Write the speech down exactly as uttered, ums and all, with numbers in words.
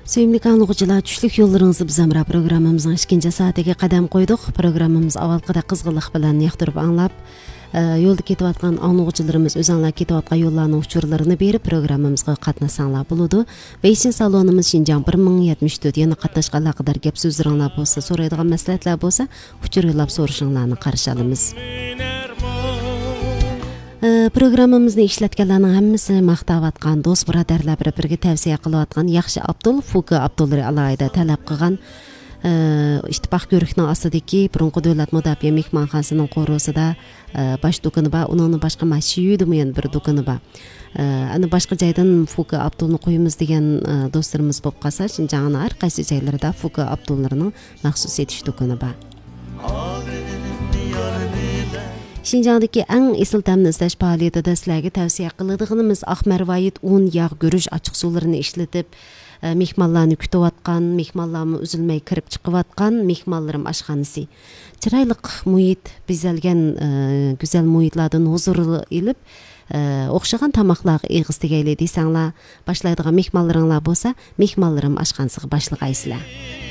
سۆيۈملۈك ئاڭلىغۇچىلار، چۈشلۈك يوللىرىڭىزدا بىز ھەمراھ پروگراممىمىزنىڭ ئىككىنچى سائىتىگە قەدەم قويدۇق. پروگراممىمىز ئاۋۋالقىدەك قىزغىنلىق بىلەن ياقتۇرۇپ ئاڭلاپ، ئە، يولدا كېتىۋاتقان ئاڭلىغۇچىلىرىمىز ئۆزۈڭلار كېتىۋاتقان يوللارنىڭ ئۇچۇرلىرىنى بېرىپ، پروگراممىمىزغا قاتناشساڭلار بولىدۇ. ۋېيشىن سالونىمىز شىنجاڭ بىر مىڭ يەتمىش تۆت. يەنە قاتناشقا ئالاقىدار گەپ سۆزلىرىڭلار بولسا، سورايدىغان مەسلىھەتلەر بولسا، ئۇچۇر يوللاپ سورىشىڭلارنى قارشى ئالىمىز. ئە، پروگراممىمىزنى ئىشلەتكەنلەرنىڭ ھەممىسى ماختاۋاتقان، دوست بۇرادەرلەر بىر-بىرىگە تەۋسىيە قىلىۋاتقان ياخشى ئابدۇل، فۇكى ئابدۇللىرى ئالاھىدە تەلەپ قىلغان، ئە، ئىتتىپاق كۆۋرۈكنىڭ ئاستىدىكى بۇرۇنقى دۆلەت مۇداپىئە مېھمانخانىسىنىڭ قورۇسىدا، ئە، باش دۇكىنى بار. ئۇنىڭدىن باشقا ما شىيۈدىمۇ يەنە بىر دۇكىنى بار. ئە، ئەنە باشقا جايدىن فۇكى ئابدۇلنى قويىمىز دېگەن، ئە، دوستلىرىمىز بولۇپ قالسا، شىنجاڭنىڭ ھەر قايسى جايلىرىدا فۇكى ئابدۇللىرىنىڭ مەخسۇس سېتىش دۇكىنى بار. شىنجاڭدىكى ئەڭ ئېسىل تەمنى ئىزدەش پائالىيىتىدە سىلەرگە تەۋسىيە قىلىدىغىنىمىز ئاق مەرۋايىت ئۇن، ياغ، گۈرۈچ، ئاچچىق سۇلىرىنى ئىشلىتىپ، ئە، مېھمانلارنى كۈتۈۋاتقان، مېھمانلارمۇ ئۈزۈلمەي كىرىپ چىقىۋاتقان مېھمانلىرىم ئاشخانىسى. چىرايلىق مۇھىت، بېزەلگەن، ئە، گۈزەل مۇھىتلاردىن ھۇزۇر ئېلىپ، ئە، ئوخشىغان تاماقلارغا ئېغىز تېگەيلى دېسەڭلار، باشلايدىغان مېھمانلىرىڭلار بولسا، مېھمانلىرىم ئاشخانىسىغا باشلىغايسىلەر.